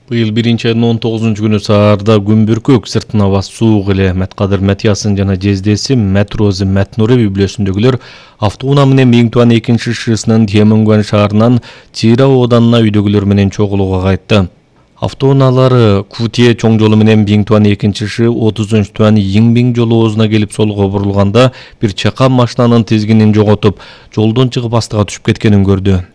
Быйыл 1-айдын 19-күнү саарда күн бүркөк сыртына басуук эле Мэткадыр Матиясын жана жездеси Мэтрозы Мэтнуре үй-бүлөсүндөгүлөр автоунаа менен Миңтуан 2-ШШсынын Темүнгөн шаарынан Чира ооданына үйдөгүлөр менен чогулууга кайтты. Автоунаалары Кутие чоң жолу менен Миңтуан 2-ШШ 30-туан Йиңбиң жолу оозуна келип солго бурулганда бир чакан машинанын тизгинин жоготуп, жолдон чыгып астыга түшүп кеткенин көрдү.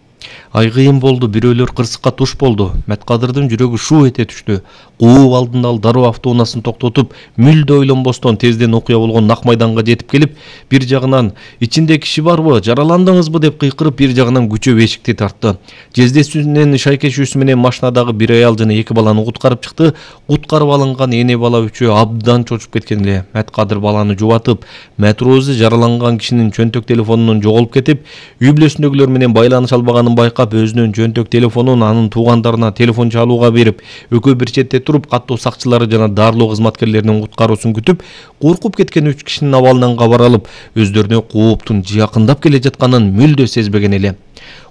Айгыйын болду, бирөөлөр кырсыкка туш болду. Мэткадырдын жүрөгү шуу эте түштү. Кууп алдында ал дароо автоунаасын токтотуп, мүлдө ойлонбостон тезден окуя болгон Нак майданга жетип келип, бир жагынан "Ичинде киши барбы, жараландыңызбы?" деп кыйкырып, бир жагынан күчөп эшикти тартты. Жездесинин шайкешүүсү менен машинадагы бир аял жана 2 баланы куткарып чыкты. Куткарып алынган эне бала үчөө абдан чочуп кеткен эле. Мэткадыр баланы жубатып, Мэтрозы жараланган кишинин чөнтөк телефонунун жоголуп кетип, үй-бүлөсүндөгүлөр менен байланыша албаганын байкап, өзүнүн жөнтөк телефонун анын туугандарына телефон чалууга берип, экөө бир четте туруп, каттоо сакчылары жана дарылоо кызматкерлеринин куткаруусун күтүп, коркуп кеткен 3 кишинин абалынан кабар алып, өздөрүнө кооптун жакындап келе жатканын мүлдө сезбеген эле.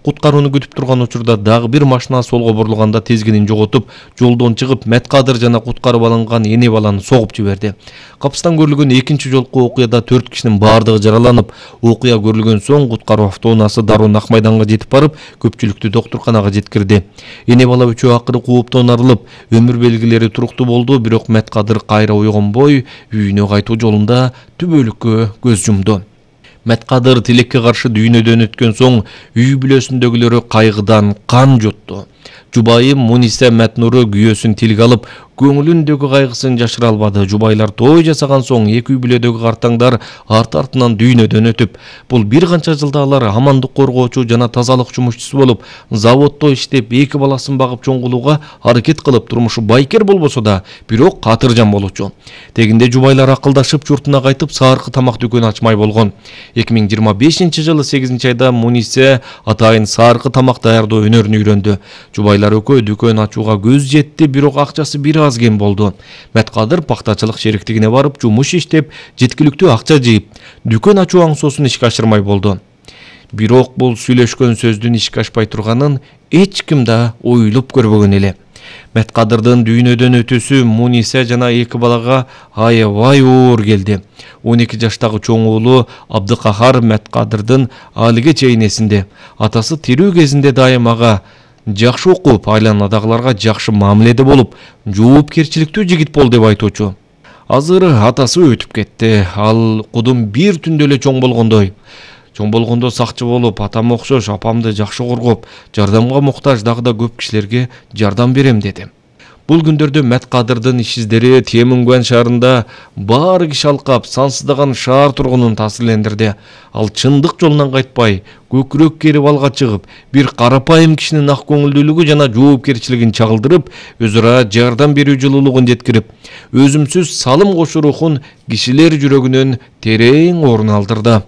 Куткарууну күтүп турган учурда дагы бир машина солго бурулганда тизгинин жоготуп, жолдон чыгып, Мэткадыр жана куткарып алынган эне баланы согуп жиберди. Капыстан көрүлгөн экинчи жолку окуяда 4 кишинин баардыгы жараланып, окуя көрүлгөн соң куткаруу автоунаасы дароо Нак майданга жетип барып, көпчүлүктү доктурканага жеткирди. Эне бала үчөө акыры кууптан арылып, өмүр белгилери туруктуу болду, бирок Мэткадыр кайра ойгонбой, үйүнө кайтуу жолунда түбөлүккө көз жумду. Мэткадыр тилекке каршы дүйнөдөн өткөн соң үй-бүлөсүндөгүлөрү кайгыдан кан жутту. Жубайы Муниса Мэтнуры күйөөсүн тилге алып, көңүлүндөгү кайгысын жашыра албады. Жубайлар той жасаган соң эки үй-бүлөдөгү картаңдар арты-артынан дүйнөдөн өтүп, бул бир канча жылда алар амандык коргоочу жана тазалык жумушчусу болуп, заводдо иштеп, 2 баласын багып чоңгулууга аракет кылып, турмушу байкер болбосо да, бирок катыржан болчу. Тегинде жубайлар акылдашып, журтуна кайтып, саркы тамак дүкөнү ачмай болгон. 2025-жылы 8-айда Муниса атайын саркы тамак даярдоо өнөрүн үйрөндү. Жубайлар экөө дүкөн ачууга көз жетти, бирок акчасы бир аз кем болду. Мэткадыр пактачылык шериктигине барып, жумуш иштеп, жеткиликтүү акча жыйып, дүкөн ачуу аңсоосун ишке ашырмай болду. Бирок бул сүйлөшкөн сөздүн ишке ашпай турганын эч ким да ойлоп көрбөгөн эле. Мэткадырдын дүйнөдөн өтүүсү Муниса жана 2 балага аябай оор келди. 12 жаштагы чоң уулу Абдыкахар Мэткадырдын алиге чейин эсинде. Атасы тирүү кезинде дайым ага жакшы окуп, айланадагыларга жакшы мамиледе болуп, жоопкерчиликтүү жигит бол деп айтуучу. Азыр атасы өтүп кетти. Ал кудум бир түндө эле чоң болгондой. Чоң болгондо сакчы болуп, атам окшош апамды жакшы коргоп, жардамга муктаж дагы да көп кишилерге жардам берем деди. Бул күндөрдө Мэткадырдын иш издери Темүнгөн шаарында баары киши алкап, сансыздаган шаар тургунун таасирлендирди. Ал чындык жолунан кайтпай, көкүрөк керип алга чыгып, бир карапайым кишинин ак көңүлдүүлүгү жана жоопкерчилигин чагылдырып, өз ара жардам берүү жылуулугун жеткирип, өзүмсүз салым кошуу рухун кишилер жүрөгүнөн терең орун алдырды.